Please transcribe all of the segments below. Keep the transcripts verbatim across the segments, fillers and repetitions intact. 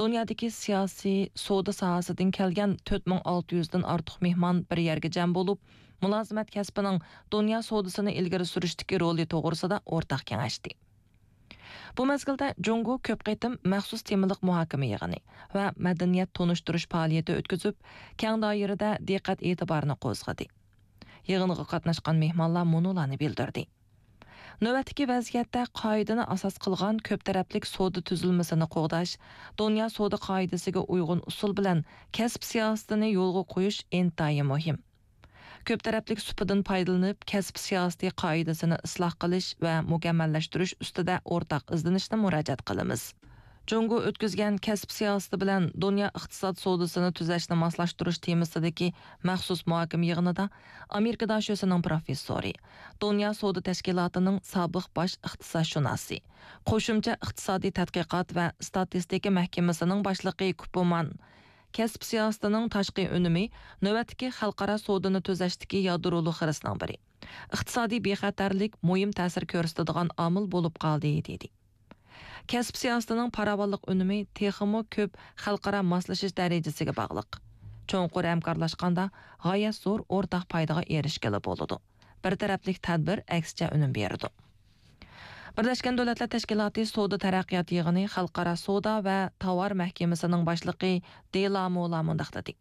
دۇنيادىكى سىياسىي، سودا ساھەسىدىن كەلگەن تۆت مىڭ ئالتە يۈزدىن ئارتۇق مېھمان بىر يەرگە جەم بولۇپ، مۇلازىمەت كەسپىنىڭ دۇنيا سودىسىنى ئىلگىرى سۈرۈشتىكى رولى توغرىسىدا ئورتاق كېڭەشتى. بۇ مەزگىلدە جۇڭگو كۆپ قېتىم مەخسۇس تېمىلىق مۇھاكىمە يىغىنى ۋە مەدەنىيەت تونۇشتۇرۇش پائالىيىتى ئۆتكۈزۈپ، كەڭ دائىرىدە دىققەت ئېتىبارىنى قوزغىدى. يىغىنغا قاتناشقان مېھمانلار مۇنۇلارنى بىلدۈردى. نۆۋەتتىكى ۋەزىيەتتە قائىدىنى ئاساس قىلغان كۆپ تەرەپلىك سودا تۈزۈلمىسىنى قوغداش، دۇنيا سودا قائىدىسىگە ئۇيغۇن ئۇسۇل بىلەن كەسىپ سىياسىتىنى يولغا قويۇش ئىنتايىن مۇھىم. كۆپ تەرەپلىك سۇپىدىن پايدىلىنىپ، كەسىپ سىياسىتى قائىدىسىنى ئىسلاھ قىلىش ۋە مۇكەممەللەشتۈرۈش ئۈستىدە ئورتاق ئىزدىنىشنى مۇراجىئەت قىلىمىز. جۇڭگو ئۆتكۈزگەن كەسىپ سىياسىتى بىلەن دۇنيا ئىقتىساد سودىسىنى تۈزەشنى ماسلاشتۇرۇش تېمىسىدىكى مەخسۇس مۇھاكىمە يىغىنىدا ئامېرىكا داشۆسىنىڭ پروفېسسورى، دۇنيا سودا تەشكىلاتىنىڭ سابىق باش ئىقتىسادشۇناسى، قوشۇمچە ئىقتىسادىي تەتقىقات ۋە ئىستاتىستىكا مەھكىمىسىنىڭ باشلىقى كۇپۇمان، كەسىپ سىياسىتىنىڭ تاشقى ئۈنۈمى نۆۋەتتىكى خەلقئارا سودىنى تۈزەشتىكى يادرولۇق خىرىسنىڭ بىرى. ئىقتىسادىي بىخەتەرلىك مۇھىم تەسىر كۆرسىتىدىغان ئامىل بولۇپ قالدى، دېدى. كەسىپ سىياسىتىنىڭ پاراۋانلىق ئۈنۈمى تېخىمۇ كۆپ خەلقئارا ماسلىشىش دەرىجىسىگە باغلىق. چوڭقۇر ھەمكارلاشقاندا غايەت زور ئورتاق پايدىغا ئېرىشكىلى بولىدۇ. بىر تەرەپلىك تەدبىر ئەكسىچە ئۈنۈم بېرىدۇ. بىرلەشكەن دۆلەتلەر تەشكىلاتى سودا تەرەققىيات يىغىنى خەلقئارا سودا ۋە تاۋار مەھكىمىسىنىڭ باشلىقى دېلامولا مۇنداق دېدى.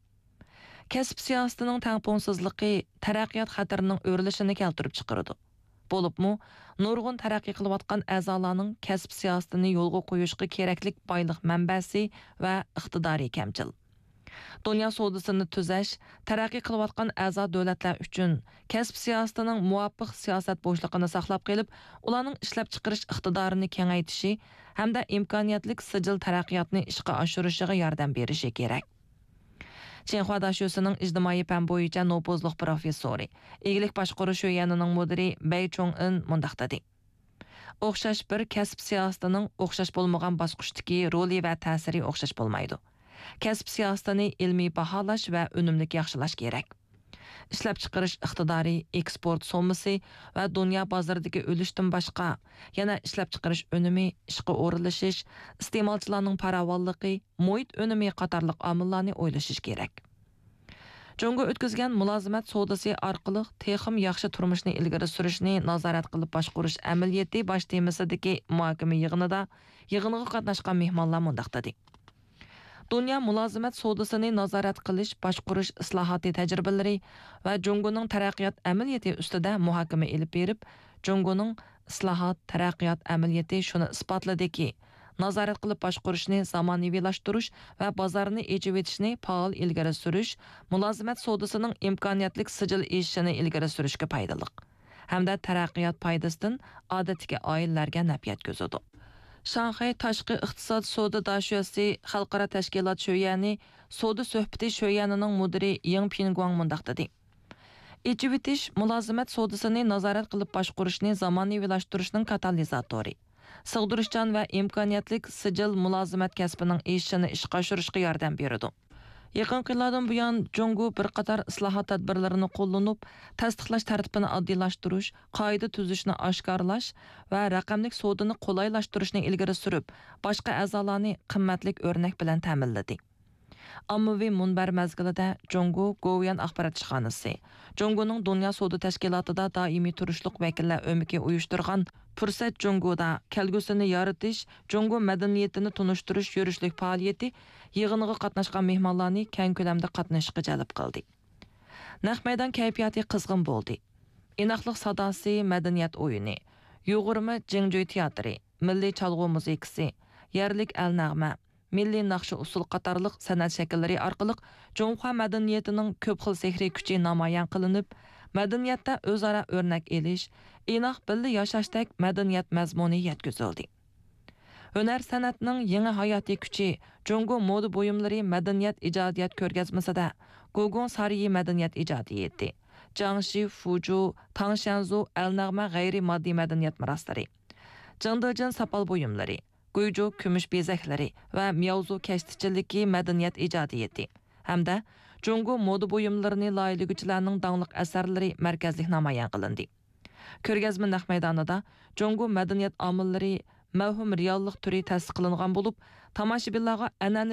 كەسىپ سىياسىتىنىڭ تەڭپۇڭسىزلىقى تەرەققىيات خەتىرىنىڭ ئۆرلىشىنى كەلتۈرۈپ چىقىرىدۇ. بولۇپمۇ، نۇرغۇن تەرەققىي قىلىۋاتقان ئەزالارنىڭ كەسىپ سىياسىتىنى يولغا قويۇشقا كېرەكلىك بايلىق مەنبەسى ۋە ئىقتىدارى كەمچىل. دۇنيا سودىسىنى تۈزەش، تەرەققىي قىلىۋاتقان ئەزا دۆلەتلەر ئۈچۈن كەسىپ سىياسىتىنىڭ مۇۋاپىق سىياسەت بوشلۇقىنى ساقلاپ قېلىپ، ئۇلارنىڭ ئىشلەپچىقىرىش ئىقتىدارىنى كېڭەيتىشى ھەمدە ئىمكانىيەتلىك سىجىل تەرەققىياتنى ئىشقا ئاشۇرۇشىغا ياردەم بېرىشى كېرەك. چىنخۇا داشۆسىنىڭ ئىجتىمائىي پەن بويىچە نوپۇزلۇق پروفېسسورى، ئىگىلىك باشقۇرۇش شۆيەنىنىڭ مۇدىرى بەي چوڭئىن مۇنداق دېدى: ئوخشاش بىر كەسىپ سىياسىتىنىڭ ئوخشاش بولمىغان باسقۇچتىكى رولى ۋە تەسىرى ئوخشاش بولمايدۇ. كەسىپ سىياسىتىنى ئىلمىي باھالاش ۋە ئۈنۈملۈك ياخشىلاش كېرەك. ئىشلەپچىقىرىش ئىقتىدارى، ئېكسپورت سوممىسى ۋە دۇنيا بازىرىدىكى ئۈلۈشتىن باشقا، يەنە ئىشلەپچىقىرىش ئۈنۈمى، ئىشقا ئورۇنلىشىش، ئىستېمالچىلارنىڭ پاراۋانلىقى، مۇھىت ئۈنۈمى قاتارلىق ئامىللارنى ئويلىشىش كېرەك. جۇڭگو ئۆتكۈزگەن مۇلازىمەت سودىسى ئارقىلىق تېخىمۇ ياخشى تۇرمۇشنى ئىلگىرى سۈرۈشنى نازارەت قىلىپ باشقۇرۇش ئەمەلىيىتى باش تېمىسىدىكى مۇھاكىمە يىغىنىدا يىغىنغا قاتناشقان مېھمانلار مۇنداق دېدى: دۇنيا مۇلازىمەت سودىسىنى نازارەت قىلىش، باشقۇرۇش ئىسلاھاتى تەجرىبىلىرى ۋە جۇڭگونىڭ تەرەققىيات ئەمەلىيىتى ئۈستىدە مۇھاكىمە ئېلىپ بېرىپ، جۇڭگونىڭ ئىسلاھات، تەرەققىيات ئەمەلىيىتى شۇنى ئىسپاتلىدىكى، نازارەت قىلىپ باشقۇرۇشنى زامانىۋىلاشتۇرۇش ۋە بازارنى ئېچىۋېتىشنى پائال ئىلگىرى سۈرۈش مۇلازىمەت سودىسىنىڭ ئىمكانىيەتلىك سىجىل ئېشىشىنى ئىلگىرى سۈرۈشكە پايدىلىق ھەمدە تەرەققىيات پايدىسىدىن ئادەتتىكى ئائىلىلەرگە نەپ يەتكۈزىدۇ. شاڭخەي تاشقى ئىقتىساد سودا داشۆسى خەلقئارا تەشكىلات شۆيەنى سودا سۆھبىتى شۆيەنىنىڭ مۇدىرى يېڭ پىنگۇاڭ مۇنداق دېدى: ئېچىۋېتىش مۇلازىمەت سودىسىنى نازارەت قىلىپ باشقۇرۇشنى زامانىۋىلاشتۇرۇشنىڭ كاتالىزاتورى، سىغدۇرۇشچان ۋە ئىمكانىيەتلىك سىجىل مۇلازىمەت كەسپىنىڭ ئېشىشىنى ئىشقا ئاشۇرۇشقا ياردەم بېرىدۇ. يېقىنقى يىللاردىن بۇيان، جۇڭگو بىر قاتار ئىسلاھات تەدبىرلىرىنى قوللىنىپ، تەستىقلاش تەرتىپىنى ئاددىيلاشتۇرۇش، قائىدە تۈزۈشنى ئاشكارىلاش ۋە رەقەملىك سودىنى قولايلاشتۇرۇشنى ئىلگىرى سۈرۈپ، باشقا ئەزالارنى قىممەتلىك ئۆرنەك بىلەن تەمىنلىدى. ئاممىۋى مۇنبەر مەزگىلىدە جۇڭگو گوۋۇيۈەن ئاخبارات ئىشخانىسى، جۇڭگونىڭ دۇنيا سودا تەشكىلاتىدا دائىمىي تۇرۇشلۇق ۋەكىللەر ئۆمىكى ئۇيۇشتۇرغان پۇرسەت جۇڭگودا كەلگۈسىنى يارىتىش، جۇڭگو مەدەنىيىتىنى تونۇشتۇرۇش يۈرۈشلۈك پائالىيىتى يىغىنىغا قاتناشقان مېھمانلارنى كەڭ كۆلەمدە قاتنىشىشقا جەلپ قىلدى. نەق مەيدان كەيپىياتى قىزغىن بولدى. ئىناقلىق ساداسى مەدەنىيەت ئويۇنى، يۇغۇرما جىڭجۈي تىياتىرى، مىللىي چالغۇ مۇزىكىسى، يەرلىك ئەل نەغمە، مىللىي ناخشا ئۇسسۇل قاتارلىق سەنئەت شەكىللىرى ئارقىلىق جۇڭخۇا مەدەنىيىتىنىڭ كۆپ خىل سېھرىي كۈچى نامايان قىلىنىپ، مەدەنىيەتتە ئۆزئارا ئۆرنەك ئېلىش، ئىناق بىللە ياشاشتەك مەدەنىيەت مەزمۇنى يەتكۈزۈلدى. ھۈنەر سەنئەتنىڭ يېڭى ھاياتىي كۈچى جۇڭگو مودا بۇيۇملىرى مەدەنىيەت ئىجادىيەت كۆرگەزمىسىدە گۇگۇڭ سارىيى مەدەنىيەت ئىجادىيىتى، جياڭشى، فۇجۇ، تاڭشيەنزۇ ئەل نەغمە غەيرىي ماددىي مەدەنىيەت مىراسلىرى، جىڭدېجىن ساپال بۇيۇملىرى، گۇيجۇ كۈمۈش بېزەكلىرى ۋە مياۋزۇ كەشتىچىلىكى مەدەنىيەت ئىجادىيىتى ھەمدە جۇڭگو مودا بۇيۇملىرىنى لايىھىلىگۈچىلەرنىڭ داڭلىق ئەسەرلىرى مەركەزلىك نامايان قىلىندى. كۆرگەزمە نەق مەيدانىدا جۇڭگو مەدەنىيەت ئامىللىرى مەۋھۇم رېئاللىق تۈرى تەسىس قىلىنغان بولۇپ، تاماشىبىنلارغا ئەنئەنىۋى